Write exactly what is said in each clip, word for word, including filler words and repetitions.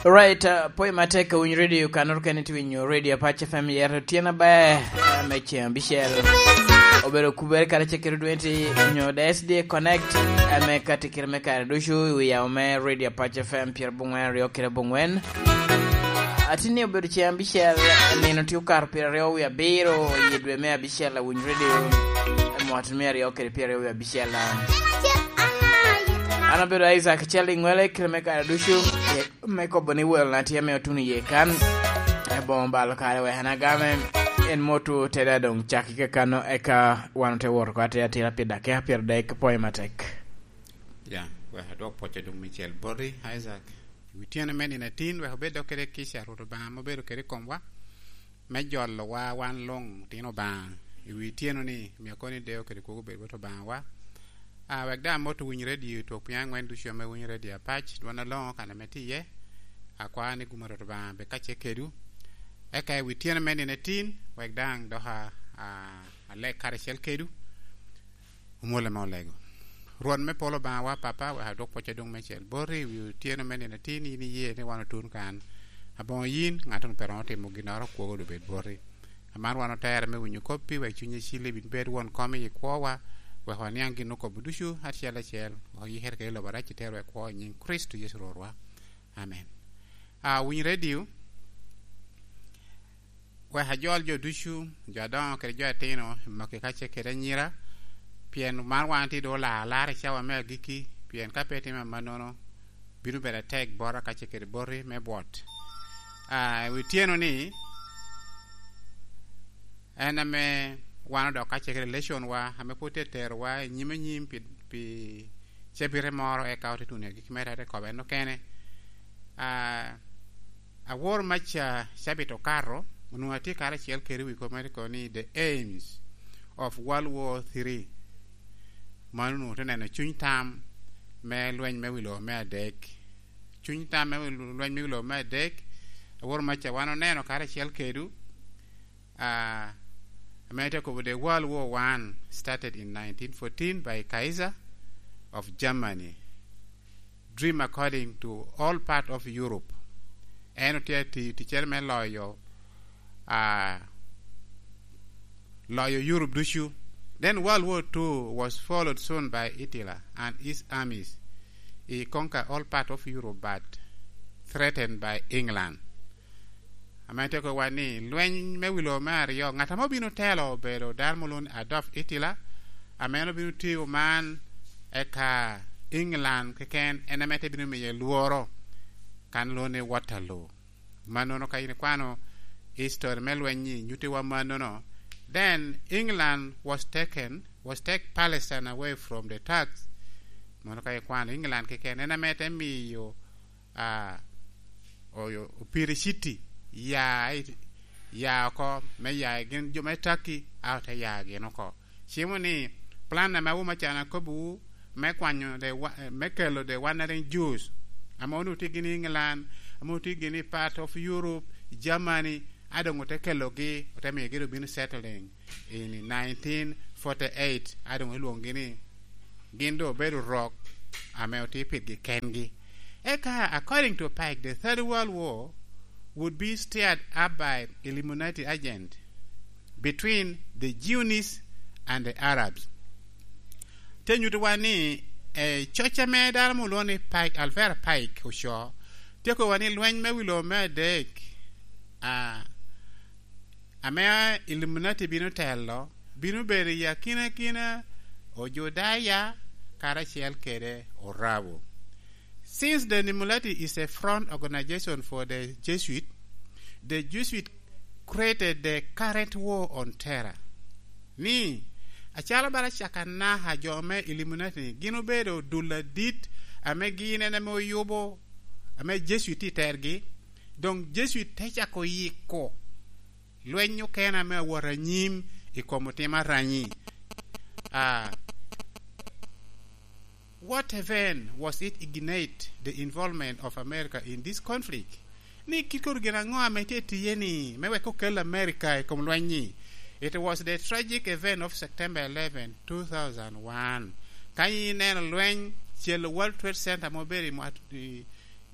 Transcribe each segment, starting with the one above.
Alright, uh, pwoyo matek ka winyo radio, ka noro kene tye winyo radio Apac F M, yero tyen aber, uh, me ceng abicel. Obedo kubere kara cekere dwenti nyo D S D A Connect, uh, me kati kire me kare ducu i wi yamo me radio Apac F M pyerabongwen aryo kede abongwen. Atin ni obedo ceng abicel, nino tye okato pyeraryo wie abiro, i dwe me abicel, awinyo radio, uh, mwaka me aryo kede pyeraryo wie abicel. An abedo Isaac Chalingwele, kire me kare ducu, me kobo ni welna tye ame otuno iye kan, eboŋo balo kare wek an agame, en moto tede adoŋ cak i kakano, eka wan ote wot oko atir atira pi dakika pyeradek, pwoyo matek. Ya, wek adwok pwoc adoŋ micel boti, Isaac. I wi tyeno me nino atin, wek obed dok kede kica Rwot Obaŋa ame obedo kede i komwa, me jolowa wan luŋ otino Obaŋa. I wi tyeno ni, omio kono ni deyo kede kwogo obed bot Obaŋawa. Ah, wek daŋ amot owiny radio i twok piny aŋwen ducu ame winyo radio Apac, dwon aloŋo kan ame tye iye. Akwao ni gum a Rwot Obaŋa bed kacel kedwu. Eka i wi tyeno me nino atin, wek daŋ dok a, a, aleg karacel kedwu. Omwolle ame olego. Rwot me polo Obaŋawa Papa, wek adwok pwoc adoŋ mecel boti, i wi otyeno me nino atin, in iye ni wan otun kan. Aboŋo yin, ŋat ŋo pe romo timo ginnoro, kwogo doŋ bed boti. Aman wan otere me winyo koppi, wek cuny acil ibin bed won kom i kwowa, wek waniaŋ gin okobo ducu acel acel, wek oyikere kede lobo arac i terwa i kwo i nyiŋ Kricito Yecu Rwotwa. Amen. A, winy radio, wek ajol jo ducu, jo adoŋo kede jo atino, i maki kacel kede anyira, pien man wan tye doŋ olar alar i cawa me agikki, pien ka pe itimo amannono, bino bedo atek bota kacel kede boti me bwot. A, i wi tyeno ni, en ame wan odok kacel kede leconwa, ame pwod tye terowa i nyim anyim pi, pi cabite moro, eka ote tuno i agikki mere, ate kobo en okene. A, awor maca cabit okato, onwoŋo atye karacel kede wi kop mere kono ni The Aims of World War Three. Mano onwoŋo te neno cuny tam me lweny me wi lobo me adek. Cuny tam me wi lo-, lweny me wi lobo me adek, awor maca wan oneno karacel kedwu, ah, ame te kobo the World War One started in nineteen fourteen by Kaiser of Germany. Dream according to all part of Europe. En otye ati-, ticcere me loyo, ah, loyo Europe ducu. Then World War Two was followed soon by Hitler and his armies. He conquer all part of Europe but threatened by England. Ame te kowa ni, lweny me wi lobo me aryo, ŋat ame obino telo obedo dano ma olwoŋo ni Adolf Hitler, ame en obino tiyo man, eka England keken en ame te bino miye lworo, kan olwoŋo ni Waterloo. Mannono ka in ikwano history me lweny-nyi, nyuttiwa mannono. Then England was taken, was take Palestine away from the Turks. Mono ka ikwano England keken, en ame te miyo, ah, oyo, Opiri City ya i, ya oko, me ya i gin jo me Turkey, a ote ya gin oko. Cimo ni, plan ame awomo acan akobbiwu me kwanyo the wa-, eh, me kelo the wandering Jews, ame onwoŋo tye gin i England, ame onwoŋo tye gin i part of Europe, Germany, a doŋ ote kelogi, ote miyogi doŋ bino settling in nineteen forty-eight, a doŋ olwoŋogi ni gin doŋ obedo rok ame otye pirgi kengi. Eka, according to Pike, the Third World War would be stirred up by Illuminati agent between the Zionist and the Arabs. Te nyutowa ni, eh, coc ame dano mo olwoŋo ni Pike, Alvera Pike ocoo, tye kowa ni lweny me wi lobo me adek, ah, ame Illuminati bino telo, bino bedo i akinakina Ojudaya karacel kede Orabo. Since the Illuminati is a front organization for the Jesuit, the Jesuit created the current war on terror. Ni, acalo bala caka naka jo me Illuminati gin obedo dul adit ame gin en ame oyubo, ame Jesuit tye i tergi, doŋ Jesuit te cako yiko lweny okene ame awot anyim i kom otim aranyi. Ah, what event was it ignite the involvement of America in this conflict? Ni kit kono gin aŋo ame tye tiye ni me wek okel America i kom lweny-nyi? It was the tragic event of September eleven, two thousand one. Ka ineno lweny, celo World Trade Center ma obedo i mwa-, i,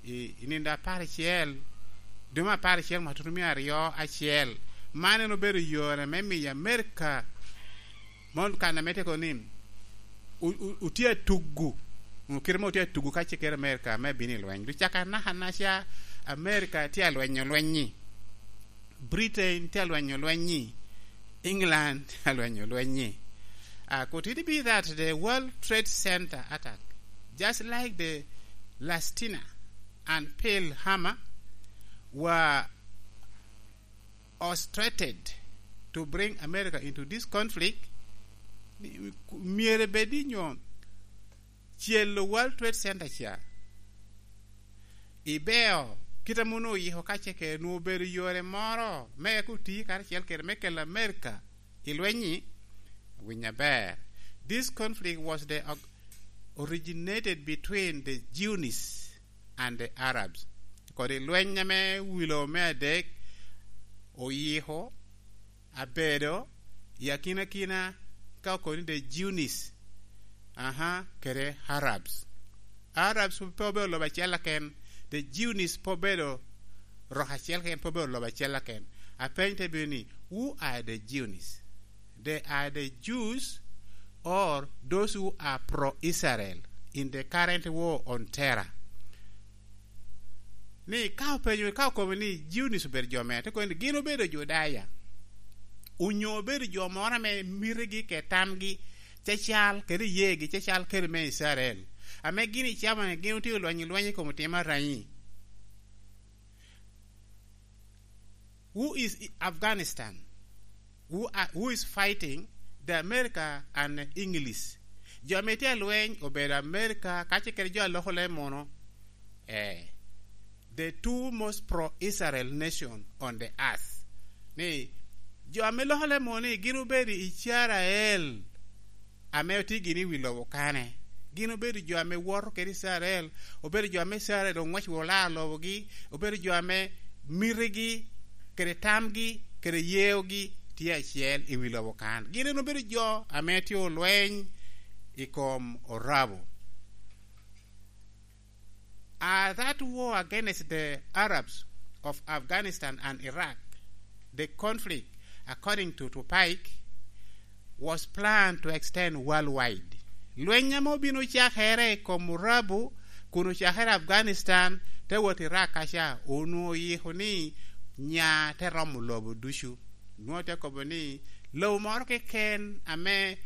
I, i nino apar acel, dwe me apar acel, mwaka tutumia aryo acel, man en obedo yore me miyo Amerika, mon kan ame tye kono ni, o-, o-, otye atugu, kite ma otye atugu ka ce kede Amerika me bino i lweny. Ducaka anaka anaca Amerika tye alwenyo lweny-nyi. Britain tye alwenyo lweny-nyi, England tye alwenyo lweny-nyi. Uh, could it be that the World Trade Center attack, just like the Palestina and Pearl Harbor, were orchestrated to bring America into this conflict? Myero bed ni nyo celo World Trade Center ca ibeo, kit ame onwoŋo oyiko ka ce kede nwoŋo obedo yore moro me eko oti karacel kede me kelo Amerika i lweny-nyi? Winy aber. This conflict was the originated between the Zionist and the Arabs. Kodi lweny ame wilo me adek oyiko abedo i akinakina ka okoni the Zionist, aha, kede Arabs. Arabs pe obedo lobo acel aken, the Zionist pe obedo rok acel aken, pe obedo lobo acel aken. Apeny te bedo ni, who are the Zionist? They are the Jews or those who are pro-Israel in the current war on terror. Ni ka openyo, ka okobo ni Zionist obedo jo mere, te kobo ni gin obedo Judaya, onyo obedo jo moro ame mitigi kede tamgi cacal kede iyegi cacal kede me Icrael, ame gin icamo ni gin otye olwenyo lweny i kom otimo aranyi. Who is Afghanistan? Who are, who is fighting the America and English? Jo ame tye alweny obedo America, kace kede jo a loko leb muno. Eh, the two most pro-Israel nation on the earth. Ni, jo ame loko leb muno ni gin obedo Icrael, ame otye gini i wi lobo kane. Gin obedo jo ame woto kede Icrael, obedo jo ame Icrael oŋwec woro laro lobogi, obedo jo ame mitigi, kede tamgi, kede yeogi tye acel i wi lobo kan. Gin en obedo jo ame tye olweny i kom Orabo. Uh, that war against the Arabs of Afghanistan and Iraq, the conflict, according to Tupac, was planned to extend worldwide. Lweny ame obino cakere i kom Orabu, kun ocakere Afghanistan, te wot Iraq kaca, onwoŋo oyiko ni nya te romo lobo ducu. Nwoŋo te kobo ni lobo moro keken ame,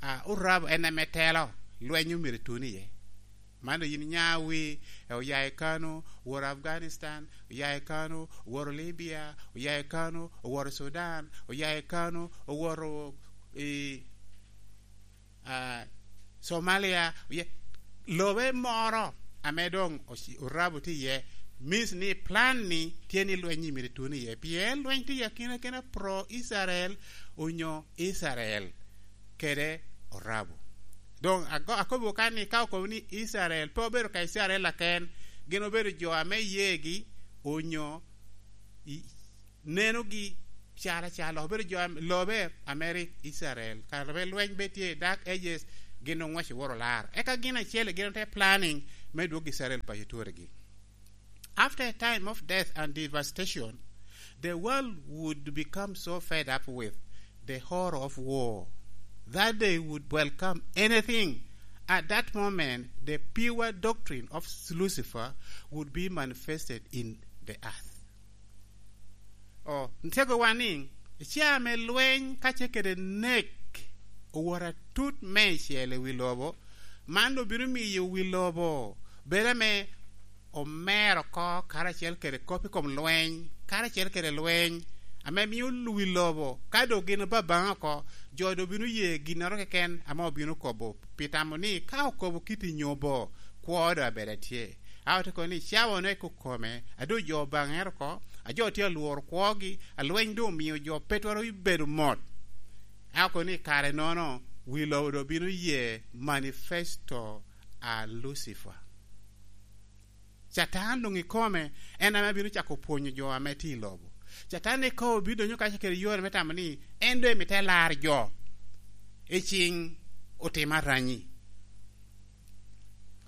ah, Orabu en ame telo, lweny omyero etun iye. Man dok yin inya wi, eh, oya i Kano, owoto Afghanistan, oya i Kano, owoto Libya, oya i Kano, owoto Sudan, oya i Kano, owoto i, ah, Somalia, oya, lobe moro ame doŋ oci-, Orabo tye iye, means ni plan ni tye ni lweny-nyi myero etun iye. Pien lweny tye i akina kena pro-Israel onyo Israel kede Orabo. Doŋ ago-, akobo kan ni ka okobo ni Icrael, pe obedo ka Icrael aken, gin obedo jo ame iyegi onyo i-, nenogi calo acalo obedo jo am-, lobe ame rik Icrael. Kare ame lweny be tye i Dark Ages, gin oŋwec oworo lar. Eka gin acel gin ote planning me dwog Icrael paco turegi. After a time of death and devastation, the world would become so fed up with the horror of war that they would welcome anything. At that moment, the pure doctrine of Lucifer would be manifested in the earth. Oh, ntego wa ni, ca ame lweny kace kede nek owoto atut meicel i wi lobo, man obino miyo wi lobo bedo ame omer oko karacel kede kop i kom lweny, karacel kede lweny, ame mio wi lobo, ka doŋ gin obabaŋ oko, jo doŋ bino ye ginnoro keken ame obino kobo, pi tamo ni ka okobo kit i nyobo, kwo doŋ abedo atye. A ote kono ni cawa one kokome, a doŋ jo obaŋere oko, a jo tye alworo kwogi, a lweny doŋ omio jo pe twero bedo mot. A okono ni kare nono, wi lobo doŋ bino ye manifesto a Lucifer. Catan doŋ ikome, en ame bino cako pwonyo jo ame tye i lobo. Catan ikobo bino donyo kace kede yore me tamo ni en doŋ emite lar jo i ciŋ otimo aranyi.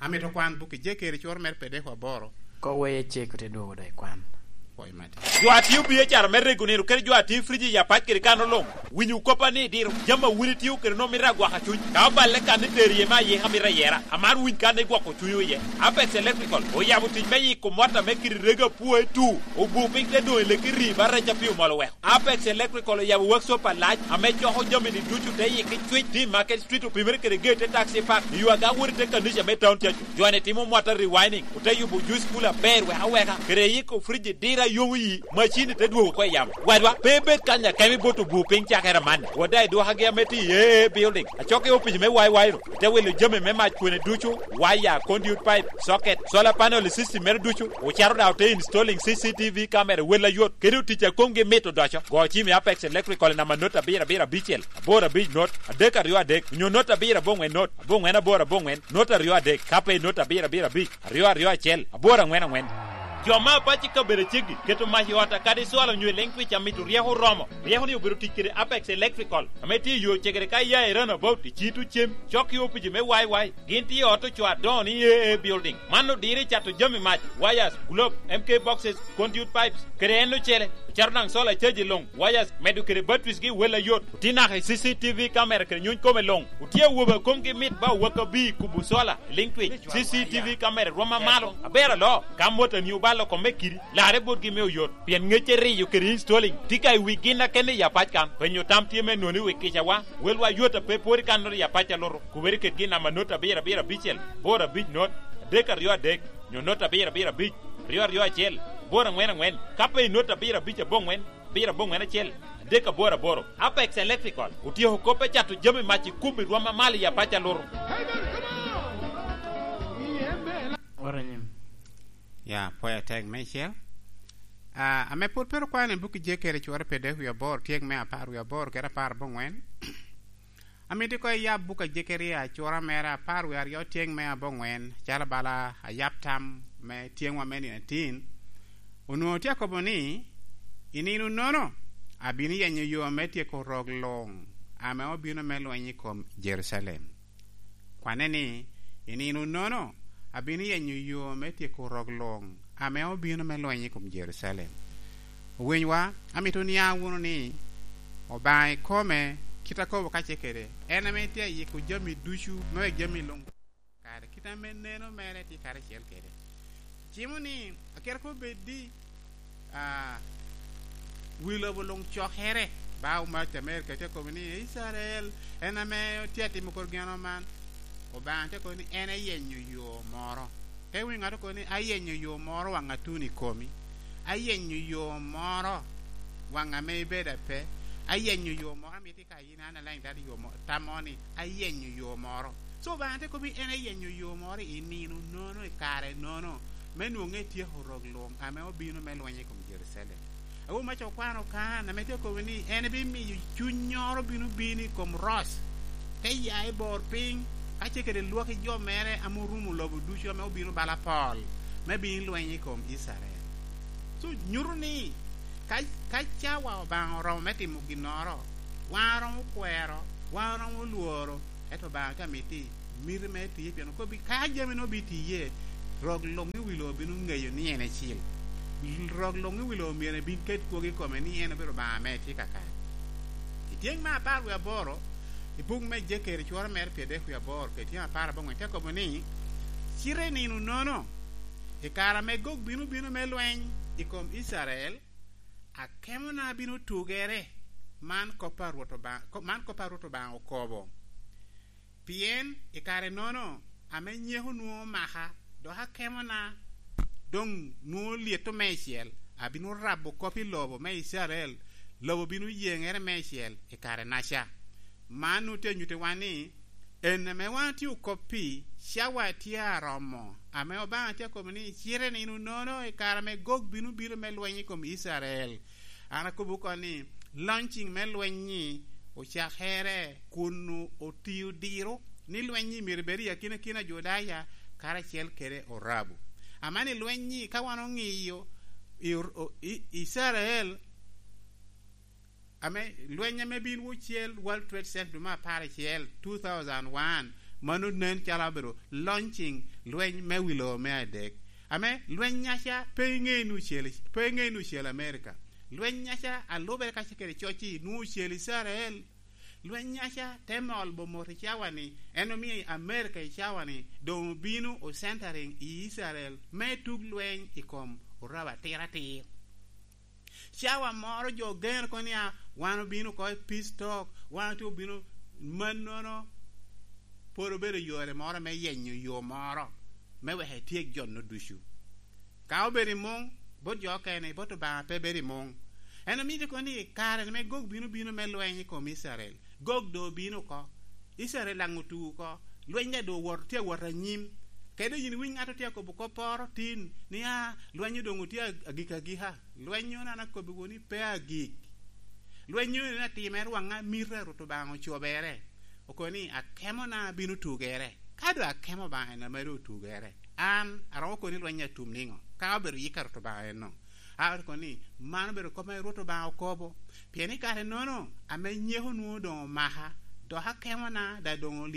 Amito kwan buk Ejekeri cworo mere pedeko aboro, Koŋ weye cek, ote dwogo dok i kwan. Jo a tio biacara me rego nino kede jo a tio i frij i apac kede kano luŋ, winyo koppa ni diro. Jami a wun itio kede nwoŋo mito agwaka cuny. Ka oballe kan ni tero iye me ayika mito ayera, amaro winy kan igwoko cunywu iye. Apex Electrical oyabo tic me yiko mot ame kite rego apwoe tu, obur piny te doŋ i leki rii ba rec a pii omol oweko. Apex Electrical oyabo workshop alac ame coko jami-ni ducu te yiki cwic, tye i Market Street, opimere kede gate te taxi park, i yo aga wot i te kanica me town cacu. Jo-ni timo mwata rewinding, ote yubo juice cooler aber wek aweka, kede yiko fridge diro a yomo yi, macini te dwogo oko i yamo. Wadwa, pe ibed kany akemo ibot obur piny cakere amanni. Wada i dwokagi ame tye i A A Building, acok i opic me Y Y no, ite wilo jami me mac kwene ducu, waya, conduit pipe, socket, solar panel i system mere ducu, ocato daŋ ote installing C C T V camera wel ayot, kede otic a komgi mit odoco. Go cim i Apex Electrical i namba not abiro abiro abicel, aboro abic not, adek aryo adek, onyo not abiro aboŋwen not, aboŋwen aboro aboŋwen, not aryo adek, ka pe i not abiro abiro abic, aryo aryo acel, aboro aŋwen aŋwen. Jo me apac i kabedo aceggi keto mac i ot kadi cwalo onyo i leŋ twic amito ryeko oromo. Ryeko-ni obedo tic kede Apex Electrical, ame tye i yo cegere ka iya i Roundabout, i Cito Cem, cok i opici me Y Y. Gin tye i ot ocoo adoŋo ni A A Building. Man odiro i cato jami mac, wires, globe, M K boxes, conduit pipes, kede en ocele. Ocato daŋ solar caji luŋ, wires, medo kede batteries gi wel ayot. Otye naka i C C T V camera kede nyuny kome luŋ. Otye awobe a komgi mit ba owaka bii kubo solar, liŋ twic, C C T V camera rwom amalo. Aber alo, ka motoni obalo kome kidi, larre botgi me oyot. Pien ŋec eriyo kede installing tye ka i wi gin a kende i apac kan. Penyo tam tye me nwoŋo i wi kicawa. Welwa yot a pe pwod i kannoro i apac a luto. Kubere kede gin namba not abiro abiro abicel, aboro abic not, adek aryo adek, nyo not abiro abiro abic, aryo aryo acel, aboro aŋwen aŋwen, ka pe i not abiro abic aboŋwen, abiro aboŋwen acel, adek aboro aboro. Apex Electrical otyeko kop me cato jami mac i kubo i rwom amalo i apac a luto. Oro nyim. Ya, pwoyo atek meicel. Ah, ame pwod pe ru kwano i buk i Jekeri cwore pi dek wie aboro, tyeng me apar wie aboro kede apar aboŋwen. Amito koŋ iyab buk a Jekaria cura mere apar wie aryo tyeng me aboŋwen, calo bala ayab tam me tyeŋwa me nino atin. Onwoŋo tye akobo ni, "I nino-nono, abino yenyo yo me tyeko rok luŋ ame obino me lweny i kom Jerucalem." Kwane ni, "I nino-nono, abino yenyo yo me tyeko rok luŋ ame obino me lweny i kom Jerucalem." Owinywa, amito oniaŋ wunu ni Obaŋa ikome, kit akobo ka ce kede, en ame tye ayiko jami ducu, me wek jami luŋ kare, kit ame neno mere tye karacel kede. Cimo ni, akero kobo bed di, ah, wi lobo luŋ cokere, ba omac Amerika tye akobo ni, "Icrael en ame tye atimo kor geno man." Obaŋa tye akobo ni en ayenyo yo moro. Te winyo ŋat okobo ni, "Ayenyo yo moro waŋ atun i komi. Ayenyo yo moro waŋ ame ibedo ape. Ayenyo yo moro ame itye ka yin an alaŋ itado yo mo-, tammo ni ayenyo yo moro." So, Obaŋa te kobo ni en ayenyo yo moro i nino nono, i kare nono, me nwoŋe etyeko rok luŋ ame obino me lweny i kom Jerucalem. Awobi me Cokwano kan ame tye akobo ni en ebimiyo cunnyoro bino bino i kom Roc, te ya i bor piny, ka ce kede lwaki jo mere ame orumo lobo ducu ame obino bala pol, me bino lweny i kom Icrael. So, nyuto ni ka, ka cawa Obaŋa oromo me timo ginnoro, wan oromo kwero, wan oromo lworo, ento Obaŋa tye amito miti me tiye, pien okobbi ka jami-nu obitiye, rok luŋ i wi lobo bino ŋeyo ni en ecil. Rok luŋ i wi lobo myero ebin ket kwogo i kome ni en obedo Obaŋa ame tye kakare. I tyeŋ me apar wie aboro, i buk me Jekeri cworo mere pyeradek wie aboro, kede tyeŋ apar aboŋwen, te kobo ni, "Cite i nino nono, i kare ame Gog bino bino me lweny i kom Icrael, akemona bino tugere." Man kop a Rwot Obaŋa, ko-, man kop a Rwot Obaŋa okobo. Pien i kare-nono ame nyeko nwoŋo omaka, dok akemona doŋ nwoŋo lyeto meicel, abino rabo kop i lobo me Icrael, lobo bino yeŋere meicel i kare-naca. Man nwoŋo tye anyuttiwa ni, en ame wan otye okop pi, cawa tye aromo, ame Obaŋa tye akobo ni, "Cite i nino nono, i kare ame Gog bino bino me lweny i kom Icrael." An akobo oko ni, launching me lweny-nyi ocakere kun o-, otio diro ni lweny-nyi myero bed i akinakina Judaya karacel kede Orabu. Amanni lweny-nyi ka wan oŋiyo i, o-, i, Icrael, ame lweny ame bin wocel World Trade Center dwe me apar acel, two thousand one, mano nen calo obedo launching lweny me wi lobo me adek. Ame lweny-nyaca pe iŋe ni ocel, pe iŋe ni ocel Amerika. Lweny-nyaca a lubere kacel kede coc-ci nwoŋo ocel Icrael. Lweny-nyaca te mol bo mot i cawa-ni, en omio Amerika i cawa-ni doŋ obino o centering i Icrael me tug lweny i kom orabo atiratir. Cawa moro jo geno kono nia, wan obino oko i peace talk, wan otye obino mannono, pwod obedo yore moro me yenyo yo moro me wek etyek jo-nu ducu. Ka obedo i muŋ, bot jo okene, bot Obaŋa pe bedo i muŋ. En omito kono ni kare me Gog bino bino me lweny i kom Icrael. Gog doŋ obino oko. Icrael daŋ otugo oko. Lweny daŋ doŋ owoto, tye awot anyim. Kede yin iwiny ŋat otye akobo kopporo tin ni, "Ah, lweny doŋ otye ag-, agik agika." Lweny-nyo an akobbiwu ni pe agik. Lweny-nyo en atimere waŋ amito a Rwot Obaŋa ocobere. Okobo ni, "Akemona bino tugere." Ka doŋ akemo Obaŋa en ame doŋ otugere, an aromo kobo ni lweny atum niŋo? Ka obedo yik a Rwot Obaŋa enno. A okobo ni, "Man obedo kop ame Rwot Obaŋa okobo. Pien i kare-nono, ame nyeko nwoŋo doŋ omaka, dok akemona daŋ doŋ